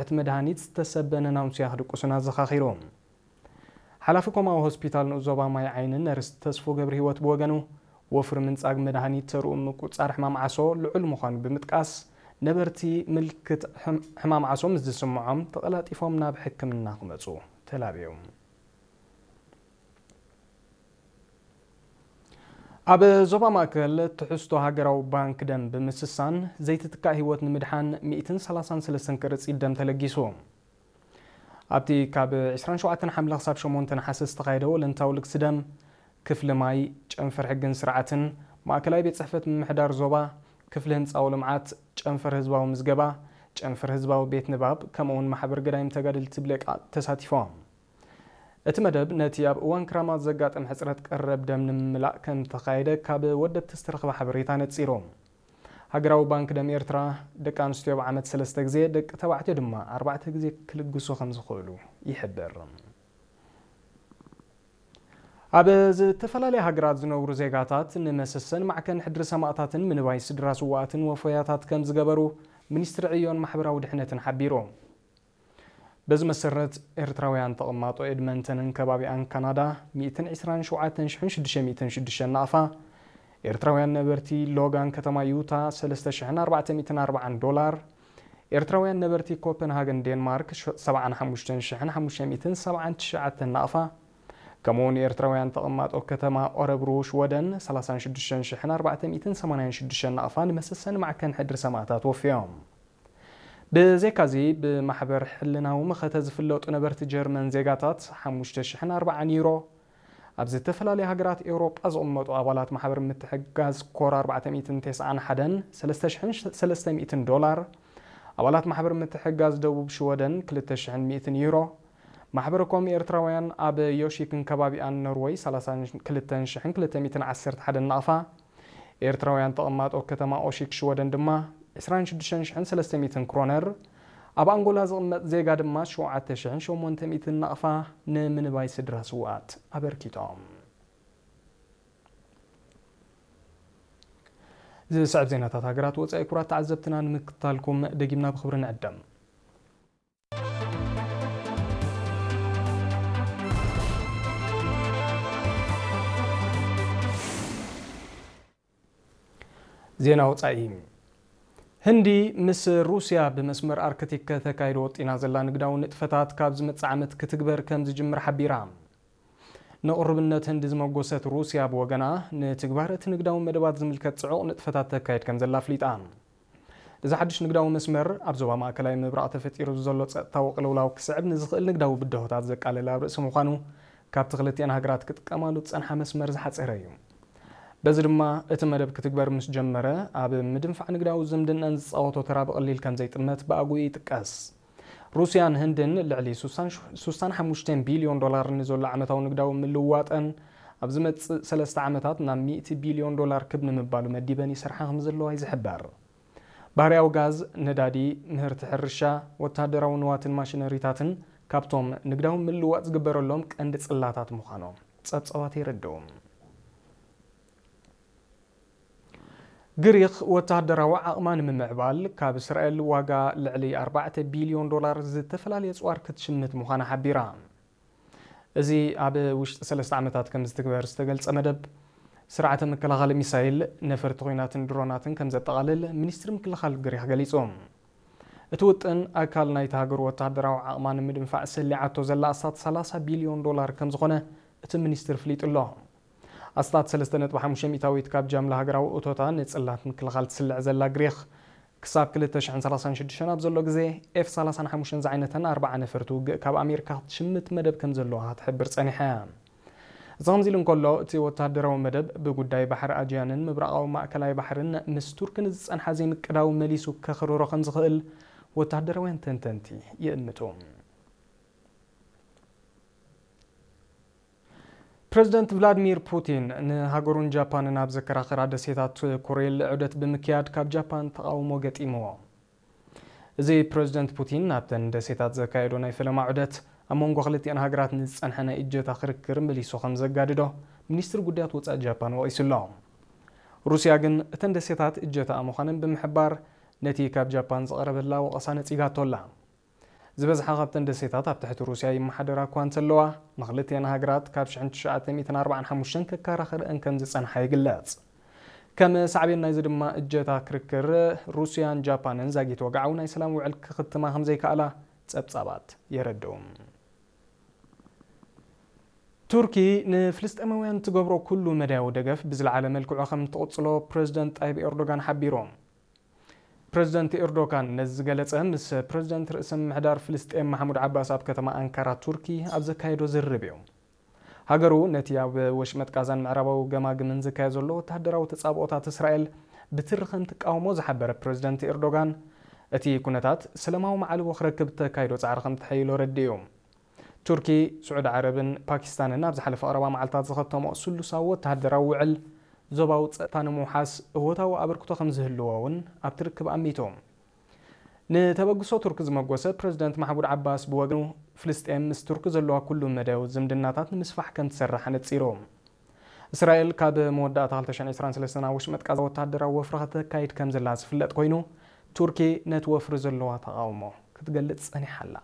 እቲ መድሃኒት ዝተሰበነ ናውንስያ ክድቅሱን ኣዘኻኺሩ። ሓላፊ ኮማዊ ሆስፒታል ንኡስ ዞባ ማይ ዓይኒ ነርስ ተስፎ ገብረ ህይወት ብወገኑ፣ ወፍሪ ምንጻግ መድሃኒት ተርኡ ምቁጻር ሕማም ዓሶ ልዑል ምዃኑ ብምጥቃስ፣ ነበርቲ ምልክት ሕም-፣ ሕማም ዓሶ ምስ ዝስምዖም ተቐላጢፎም ናብ ሕክምና ክመጹ ተላብዮም። ኣብ ዞባ ማእከል ትሕዝቶ ሃገራዊ ባንክ ደም ብምስሳን ዘይትትካእ ህይወት ንምድሓን ሚእትን ሰላሳን ሰለስተን ቅርጺት ደም ተለጊሱ። ኣብቲ ካብ ዕስራን ሸውዓተን ሓምለ ክሳብ ሸሞንተ ነሓሰ ዝተኻየደ ወለንታዊ ልግሲ ደም፣ ክፍሊ ማይ፣ ጨንፈር ሕግን ስርዓትን፣ ማእከላይ ቤት ጽሕፈት ምምሕዳር ዞባ፣ ክፍሊ ህንጻዊ ልምዓት፣ ጨንፈር ህዝባዊ ምዝገባ፣ ጨንፈር ህዝባዊ ቤት ንባብ፣ ከምኡ'ውን ማሕበር ገዳይም ተጋደልቲ ብሌቃ ተሳቲፎም። እቲ መደብ ነቲ ኣብ እዋን ክራማት ዘጋጥም ሕጽረት ቀረብ ደም ንምምላእ ከም ተኻየደ ካብ ወደብቲ ዝተረኽበ ሓበሬታ ነጺሩ። ሃገራዊ ባንክ ደም ኤርትራ፣ ደቂ ኣንስትዮ ብዓመት ሰለስተ ግዜ፣ ደቂ ተባዕትዮ ድማ ኣርባዕተ ግዜ ክልግሱ ከም ዝኽእሉ ይሕብር። ኣብ ዝተፈላለያ ሃገራት ዝነብሩ ዜጋታት ንመሰሰን ማዕከን ሕድሪ ሰማእታትን ምንባይ ስድራ ስዋኣትን ወፈያታት ከም ዝገበሩ ሚኒስትሪ ዕዮን ማሕበራዊ ድሕነትን ሓቢሩ። በዚ መሰረት፣ ኤርትራውያን ተቐማጦ ኤድመንተንን ከባቢኣን ካናዳ ሚእትን ዕስራን ሸውዓተን ሽሕን ሽዱሽተ ሚእትን ሽዱሽተ ናቕፋ፣ ኤርትራውያን ነበርቲ ሎጋን ከተማ ዩታ ሰለስተ ሽሕን ኣርባዕተ ሚእትን ኣርባዓን ዶላር፣ ኤርትራውያን ነበርቲ ኮፐንሃገን ዴንማርክ ሸ-፣ ሰብዓን ሓሙሽተን ሽሕን ሓሙሽተ ሚእትን ሰብዓን ትሽዓተን ናቕፋ፣ ከምኡውን ኤርትራውያን ተቐማጦ ከተማ ኦረብሩ ሽወደን ሰላሳን ሽዱሽተን ሽሕን ኣርባዕተ ሚእትን ሰማንያን ሽዱሽተን ናቕፋ ንመሰሰኒ ማዕከን ሕድሪ ሰማእታት ወፍዮም። ብዘይካዚ፣ ብማሕበር ሕልናዊ መኸተ ዝፍለጡ ነበርቲ ጀርመን ዜጋታት ሓሙሽተ ሽሕን ኣርባዓን ዩሮ፣ ኣብ ዝተፈላለያ ሃገራት ኤውሮጳ ዝቕመጡ ኣባላት ማሕበር ምትሕግጋዝ ኮር ኣርባዕተ ሚእትን ተስዓን ሓደን ሰለስተ ሽሕን ሰለስተ ሚእትን ዶላር፣ ኣባላት ማሕበር ምትሕግጋዝ ደቡብ ሽወደን ክልተ ሽሕን ሚእትን ዩሮ፣ ማሕበረ ኮም ኤርትራውያን ኣብ ዮሺክን ከባቢኣን ኖርወይ ሰላሳን ክልተን ሽሕን ክልተ ሚእትን ዓሰርተ ሓደን ናቕፋ፣ ኤርትራውያን ተቐማጦ ከተማ ኦሺክ ሽወደን ድማ ዕስራን ሽዱሽተን ሽሕን ሰለስተ ሚእትን ክሮነር፣ ኣብ ኣንጎላ ዝቕመጥ ዜጋ ድማ ሸውዓተ ሽሕን ሸሞንተ ሚእትን ናቕፋ ንምንባይ ስድራ ስውኣት ኣበርኪቶም። ዝስዕብ ዜናታት ሃገራት ወጻኢ ክቡራት ተዓዘብትና ንምክታልኩም ደጊምና ብኽብሪ ንዕደም። ዜና ወጻኢ። ህንዲ ምስ ሩስያ ብመስመር ኣርክቲክ ከተካይዶ ወጢና ዘላ ንግዳዊ ንጥፈታት ካብ ዝመጽእ ዓመት ክትግበር ከም ዝጅምር ሓቢራ። ንቕሩብነት ህንዲ ዝመጎሰት ሩስያ ብወገና፣ ንትግባር እቲ ንግዳዊ መደባት ዝምልከት ጽዑቕ ንጥፈታት ተካይድ ከም ዘላ ኣፍሊጣ። እዚ ሓድሽ ንግዳዊ መስመር፣ ኣብ ዞባ ማእከላይ ምብራቕ ተፈጢሩ ዘሎ ጸጥታዊ ቅልውላው ክስዕብ ንዝኽእል ንግዳዊ ብድሆታት ዘቃልል ኣብ ርእሲ ምዃኑ፣ ካብቲ ክልቲኣን ሃገራት ክጥቀማሉ ዝጸንሓ መስመር ዝሓጸረ እዩ። በዚ ድማ፣ እቲ መደብ ክትግበር ምስ ጀመረ፣ ኣብ ምድንፋዕ ንግዳዊ ዝምድናን ዝጻወቶ ተራ ብቐሊል ከም ዘይጥመት ብኣግኡ ይጥቀስ። ሩስያን ህንድን ልዕሊ ሱሳን፣ ሱሳን ሓሙሽተ ቢልዮን ዶላር ንዘሎ ዓመታዊ ንግዳዊ ምልውዋጠን፣ ኣብ ዝመጽእ ሰለስተ ዓመታት ናብ ሚእቲ ቢልዮን ዶላር ክብ ንምባሉ መዲበን ይሰርሓ ከም ዘለዋ እዩ ዝሕበር። ባህርያዊ ጋዝ፣ ነዳዲ፣ ምህርቲ ሕርሻ፣ ወተሃደራዊ ንዋትን ማሽነሪታትን ካብቶም ንግዳዊ ምልውዋጥ ዝግበረሎም ቀንዲ ጽላታት ምዃኖም ጸብጻባት የረድኡ። ግሪኽ ወተሃደራዊ ዓቕማ ንምምዕባል ካብ እስራኤል ዋጋ ልዕሊ ኣርባዕተ ቢልዮን ዶላር ዝተፈላለየ ኣጽዋር ክትሽምት ምዃና ሓቢራ። እዚ ኣብ ውሽጢ ሰለስተ ዓመታት ከም ዝትግበር ዝተገልጸ መደብ፣ ስርዓተ ምክልኻል ሚሳይል፣ ነፈርቲ ኲናትን ድሮናትን ከም ዘጠቓልል ሚኒስትሪ ምክልኻል ግሪኽ ገሊጹ። እቲ ውጥን ኣካል ናይቲ ሃገር ወተሃደራዊ ዓቕማ ንምድንፋዕ ሰሊዓቶ ዘላ ኣስታት ሰላሳ ቢልዮን ዶላር ከም ዝኾነ እቲ ሚኒስትሪ ኣፍሊጡ ኣሎ። ኣስታት ሰለስተ ነጥቢ ሓሙሽተ ሚእታዊት ካብ ጃምላ ሃገራዊ እቶታ ንጽላት ምክልኻል ትስልዕ ዘላ ግሪኽ፣ ክሳብ ክልተ ሽሕን ሰላሳን ሽዱሽተን ኣብ ዘሎ ግዜ፣ ኤፍ ሰላሳን ሓሙሽተን ዝዓይነተን ኣርብዓ ነፈርቲ ውግእ ካብ ኣሜሪካ ክትሽምት መደብ ከም ዘለዋ ክትሕብር ጸኒሓ እያ። እዚ ከምዚ ኢሉ እንከሎ፣ እቲ ወተሃደራዊ መደብ ብጉዳይ ባሕሪ ኣጂያንን ምብራቓዊ ማእከላይ ባሕርን ምስ ቱርኪ ንዝጸንሓ ዘይምቅዳው መሊሱ ከኽርሮ ከም ዝኽእል ወተሃደራውያን ተንተንቲ ይእምቱ። ፕረዚደንት ቭላድሚር ፑቲን ንሃገሩን ጃፓንን ኣብ ዘከራኽራ ደሴታት ኩሪል ዑደት ብምክያድ ካብ ጃፓን ተቓውሞ ገጢምዎ። እዚ ፕረዚደንት ፑቲን ናብተን ደሴታት ዘካየዶ ናይ ፈለማ ዑደት ኣብ መንጎ ክልቲኣን ሃገራት ንዝጸንሐ ናይ እጀታ ክርክር መሊሱ ከም ዘጋድዶ ሚኒስትሪ ጉዳያት ወጻኢ ጃፓን ወቒሱ ኣሎ። ሩስያ ግን እተን ደሴታት እጀታኣ ምዃነን ብምሕባር ነቲ ካብ ጃፓን ዝቐረበላ ወቐሳ ነጺጋቶ ኣላ። ዝበዝሓ ካብተን ደሴታት ኣብ ትሕቲ ሩስያ ይመሓደራ እኳ እንተለዋ፣ ንኽልቲአን ሃገራት ካብ ሽሕን ትሽዓተ ሚእትን ኣርባዓን ሓሙሽተን ከከራኽረአን ከም ዝጸንሓ ይግለጽ። ከም ሳዕቤን ናይዚ ድማ እጀታ ክርክር ሩስያን ጃፓንን ዛጊት ወግዓዊ ናይ ሰላም ውዕል ክኽትማ ከም ዘይከኣላ ጸብጻባት የረድኡ። ቱርኪ ንፍልስጤማውያን ትገብሮ ኩሉ መዳያዊ ደገፍ ብዝለዓለ መልክዑ ከም ትቕጽሎ ፕረዚደንት ጣይብ ኤርዶጋን ሓቢሩ። ፕረዚደንት ኤርዶጋን ነዚ ዝገለጸ ምስ ፕረዚደንት ርእሰ ምምሕዳር ፍልስጤም ማሕሙድ ዓባስ ኣብ ከተማ ኣንካራ ቱርኪ ኣብ ዘካየዶ ዝርርብ እዩ። ሃገሩ ነቲ ኣብ ወሽመጥ ቃዛን ምዕራባዊ ገማግምን ዝካየድ ዘሎ ወተሃደራዊ ተጻብኦታት እስራኤል ብትሪ ከም ትቃወሞ ዝሓበረ ፕረዚደንት ኤርዶጋን፣ እቲ ኩነታት ሰላማዊ ማዕልቦ ክረክብ እተካይዶ ጻዕሪ ከም ተሐይሎ ረዲኡ። ቱርኪ፣ ስዑዲ ዓረብን ፓኪስታንን ኣብ ዝሓለፈ ቀረባ መዓልታት ዝኸተሞ ስሉሳዊ ወተሃደራዊ ውዕል ዞባዊ ጸጥታ ንምውሓስ እወታዊ ኣበርክቶ ከም ዝህልዎ እውን ኣብቲ ርክብ ኣሚቱ። ንተበግሶ ቱርኪ ዝመጎሰ ፕረዚደንት ማሕሙድ ዓባስ ብወገኑ፣ ፍልስጤም ምስ ቱርኪ ዘለዋ ኩሉ መዳያዊ ዝምድናታት ንምስፋሕ ከም ትሰርሕ ኣነጺሩ። እስራኤል ካብ መወዳእታ ክልተ ሽሕን ዕስራን ሰለስተን ኣብ ወሽመጥ ቃዛ ወተሃደራዊ ወፍሪ ከተካይድ ከም ዘላ ዝፍለጥ ኮይኑ፣ ቱርኪ ነቲ ወፍሪ ዘለዋ ተቓውሞ ክትገልጽ ጸኒሓ ኣላ።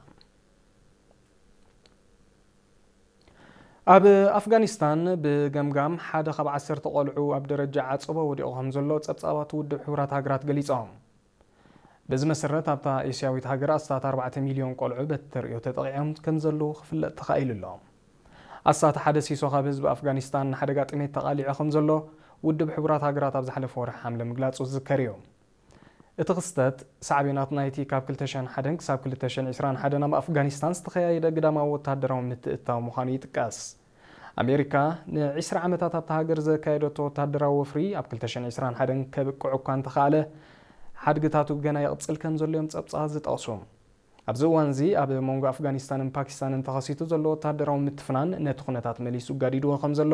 ኣብ ኣፍጋኒስታን ብገምጋም ሓደ ካብ ዓሰርተ ቆልዑ ኣብ ደረጃ ዓጸቦ ወዲቑ ከም ዘሎ ጸብጻባት ውድብ ሕቡራት ሃገራት ገሊጾም። በዚ መሰረት ኣብታ ኤስያዊት ሃገር ኣስታት ኣርባዕተ ሚልዮን ቆልዑ በቲ ተርእዮ ተጠቒዖም ከም ዘለዉ ክፍለጥ ተኻኢሉ ኣሎ። ኣስታት ሓደ ሲሶ ካብ ህዝቢ ኣፍጋኒስታን ንሓደጋ ጥሜት ተቓሊዑ ከም ዘሎ ውድብ ሕቡራት ሃገራት ኣብ ዝሓለፈ ወርሒ ሓምለ ምግላጹ ዝዝከር እዩ። እቲ ክስተት ሳዕቤናት ናይቲ ካብ ክልተ ሽሕን ሓደን ክሳብ ክልተ ሽሕን ዕስራን ሓደን ኣብ ኣፍጋኒስታን ዝተኸያየደ ግዳማዊ ወተሃደራዊ ምትእትታው ምዃኑ ይጥቀስ። ኣሜሪካ ንዒስራ ዓመታት ኣብታ ሃገር ዘካየደቶ ወተሃደራዊ ወፍሪ ኣብ ክልተ ሽሕን ዕስራን ሓደን ከብቅዕ እኳ እንተኸኣለ፣ ሓድግታቱ ገና ይቕጽል ከም ዘሎ እዮም ጸብጻባት ዝጠቕሱ። ኣብዚ እዋን እዚ ኣብ መንጎ ኣፍጋኒስታንን ፓኪስታንን ተኸሲቱ ዘሎ ወተሃደራዊ ምትፍናን ነቲ ኩነታት መሊሱ ጋዲድዎ ከም ዘሎ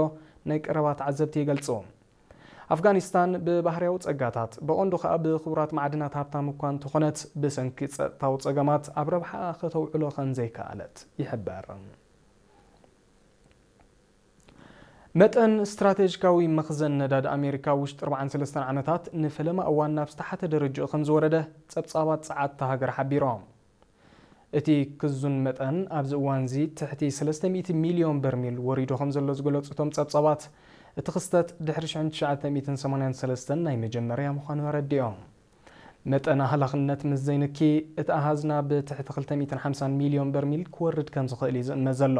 ናይ ቀረባ ተዓዘብቲ ይገልጹ። ኣፍጋኒስታን ብባህርያዊ ጸጋታት፣ ብቐንዱ ከኣ ብኽቡራት ማዕድናት ሃብታም እኳ እንተኾነት፣ ብሰንኪ ጸጥታዊ ጸገማት ኣብ ረብሓኣ ከተውዕሎ ከም ዘይከኣለት ይሕበር። መጠን ስትራቴጂካዊ መኽዘን ነዳዲ ኣሜሪካ ውሽጢ ኣርባዓን ሰለስተን ዓመታት ንፈለማ እዋን ናብ ዝተሓተ ደረጃኡ ከም ዝወረደ ጸብጻባት ጸዓት እታ ሃገር ሓቢሮም። እቲ ክዙን መጠን ኣብዚ እዋን እዚ ትሕቲ ሰለስተ ሚእቲ ሚልዮን በርሚል ወሪዱ ከም ዘሎ ዝገለጹ እቶም ጸብጻባት፣ እቲ ክስተት ድሕሪ ሽሕን ትሽዓተ ሚእትን ሰማንያን ሰለስተን ናይ መጀመርያ ምዃኑ ኣረዲኦም። መጠን ኣህላኽነት ምስ ዘይንኪ፣ እቲ ኣሃዝ ናብ ትሕቲ ክልተ ሚእትን ሓምሳን ሚልዮን በርሚል ክወርድ ከም ዝኽእል እዩ ዝእመት ዘሎ።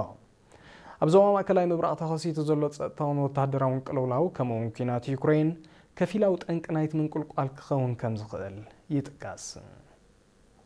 ኣብ ዞባ ማእከላይ ምብራቕ ተኸሲቱ ዘሎ ጸጥታውን ወተሃደራውን ቅልውላው፣ ከምኡ'ውን ኲናት ዩክሬን፣ ከፊላዊ ጠንቂ ናይቲ ምንቁልቋል ክኸውን ከም ዝኽእል ይጥቀስ።